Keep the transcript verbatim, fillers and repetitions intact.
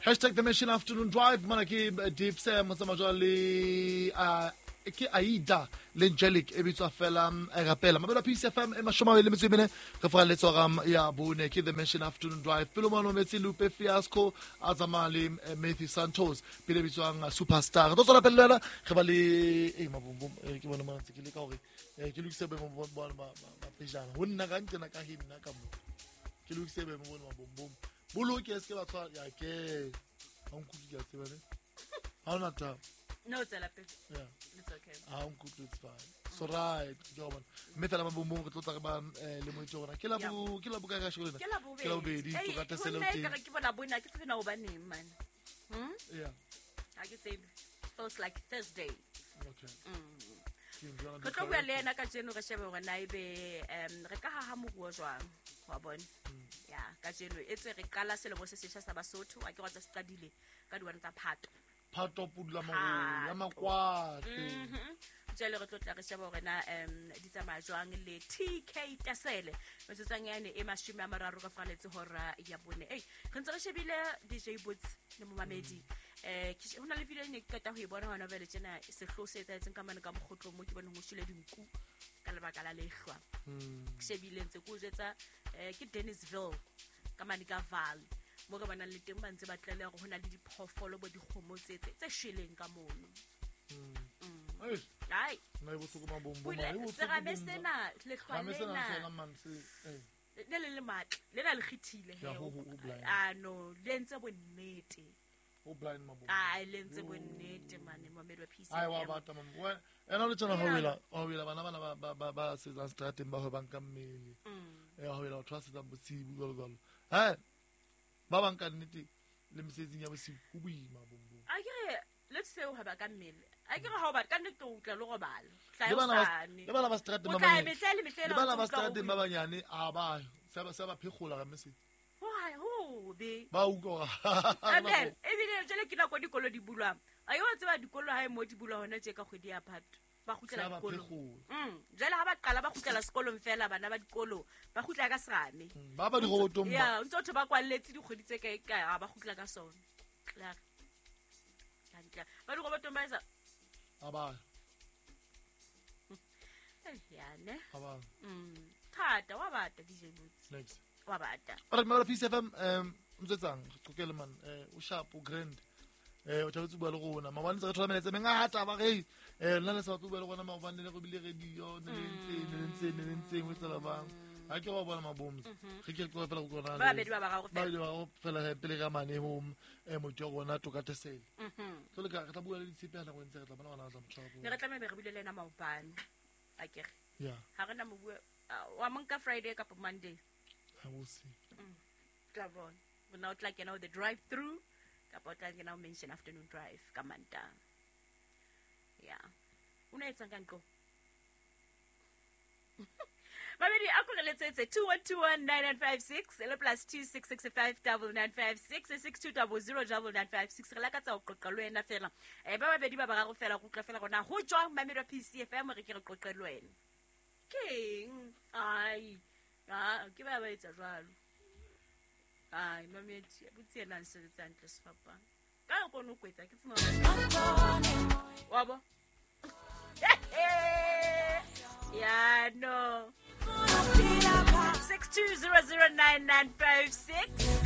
Hashtag the Mission Afternoon Drive mona ke Dipse motsamajwa le uh, ke Aida le Angelic e bitswa fela e rapela mabelo a P C F M e mashome a mabedi le metso e mene re foga le tswara ya bone ke the Mission Afternoon Drive pele mo metsi Lupe Fiasco a tsamaya le Matthew Santos pele bitswang Superstar re tlo tswela pele le wena re ba le e mabombom ke bone mona ntse ke le ka hore ke lokise boemo ba ba pejana ho nna ka ntsena ka he nna ka mo ke lokise boemo bona mabombom boloke se ke ba tshwara ya ke ha nkutlwe ke a tseba ne ha ona taba. No, it's okay. Yeah. It's okay. Ha nkutlwe, it's fine. So right, ke bona. Mme fela mabombom re tlo tla re ba le moitse rona. Ke la bo ke la bo ka ka shego lena. Ke la bobedi. Ke la bobedi, to ka tesele o teng. Ke bona bona ke tsebe na o baneng man. Hm? Yeah. Ha ke tsebe. Feels like Thursday. Okay. Mm. Re tlo bua le yena kajeno re shebe hore na ebe um re ka haha moruo jwang wa bona. Ya, kajeno e tswe re qala selemo se setjha sa Basotho, a ke re tsa se qadile ka diwane tsa Phato. Phato pudula marolo ya makwate. Mhm. Jwale re tlo tla re sheba hore na um di tsamaya jwang le T K Tasele. Metsotsong yane e mashome a mararo ka faraletse hora ya bone. Ei, re ntse re shebile D J Boots le momamedi. Eh ke hona le video e ne ke qeta ho e bona hona jwale tjena sehloho se etsahetseng ka mane ka mokgotlong mo ke boneng ho shwele dinku ka lebaka la lehlwa. Ke shebile ntse ke o jwetsa eh ke Dennisville ka mane ka Vaal. Mo re bonang le teng ba ntse ba tlaleha hore hona le diphoofolo bo dikgomo tse tse shweleng ka mono. Mm. Ai. Ai. Nna e bohloko mabombom, e bohloko. Serame sena lehlwa lena. Le le le matla, le na le kgethile he. Ah no, le ntse bonnete. O blind mabombo. Ah, le ntse bonnete mane momedi wa P C F M. Ai wa bata mabombo. Ena le tsena ho wela, ho wela bana bana ba ba ba setsang strateng ba hwebang ka mmele. Mm. Eh ho wela batho ba setsang bosibu jwalo jwalo. Ha ba bang ka nnete le mesebetsing ya bosibu ho boima bombo. A ke re let's say o hweba ka mmele. A ke re ha o batla ka nnete o tla le robala. Tla Le o bana ba sane. le bana ba strateng ba O tla banyane. mehle le mehle Le bana ba strateng ba banyane a ba se ba se ba phekgola ka mesebetsi. Ho ha ho be. Ba utlwa hore Amen. Ebile jwale ke nako dikolo di bulwang. A yo tseba dikolo ha e mo di bulwa hona tje ka kgwedi ya Phato. Ba kgutlela Se ba dikolong. phekgola. Mm. Jwale ha ba qala ba kgutlela sekolong fela bana ba dikolo ba kgutla ka serame. Ba ba dirobotong ba. Ya, ntse batho ba kwalletse dikgwedi tse kae kae ha ba kgutla ka sona. Klaar. Hantle. Ba dirobotong ba etsa A ba. Eh, ya ne. A ba. Mm. Thata wa bata D J Boots. Next. Wa bata. Ora mara P C F M um mtsetsang re qoqele man eh o sharp o grand. Eh o thabetse bua le rona. Maobane tse re thola melaetsa e mengata ba re eh nna le sa batle bua le rona maobane le re bile radio ne le ntse ne le ntse ne le ntse ho tsela bang. Ha ke wa bona maboms. Re ke re fela go rona. Ba babedi ba bararo Ba fela. babedi ba bararo fela he pele ka mane ho eh motho wa rona Toka Tesele. Mhm. Tlo le ka re tla bua le ditshepe ha nako e ntse re tla bona hona re tla mo tshwara. Ne re tlameha be re buile le yena maobane. A ke re. Yeah. Ha re na mo bua wa monka Friday kapa Monday. Ha o see. Mm. Tla bona. Bona o tla kena o the drive through kapa o tla kena o mention afternoon drive ka Mantaha. Yeah. O ne etsang ka nqo? Babedi a ko re letsetse two one two one nine nine five six le plus two six six five double nine five six six two double zero double nine five six. Re lakatsa ho qoqa le wena fela. Eh ba babedi ba bararo fela go utlwa fela rona ho jwang mamedi wa P C F M re ke re qoqe le wena. Keng? Ai. Ah, ke ba ba etsa jwalo. Ai, mamedi, botse yena a nsebetsa hantle sefapano. Ka o kgone ho kwetsa ke tsena. Wa bo? Ya no. six two zero zero nine nine five six.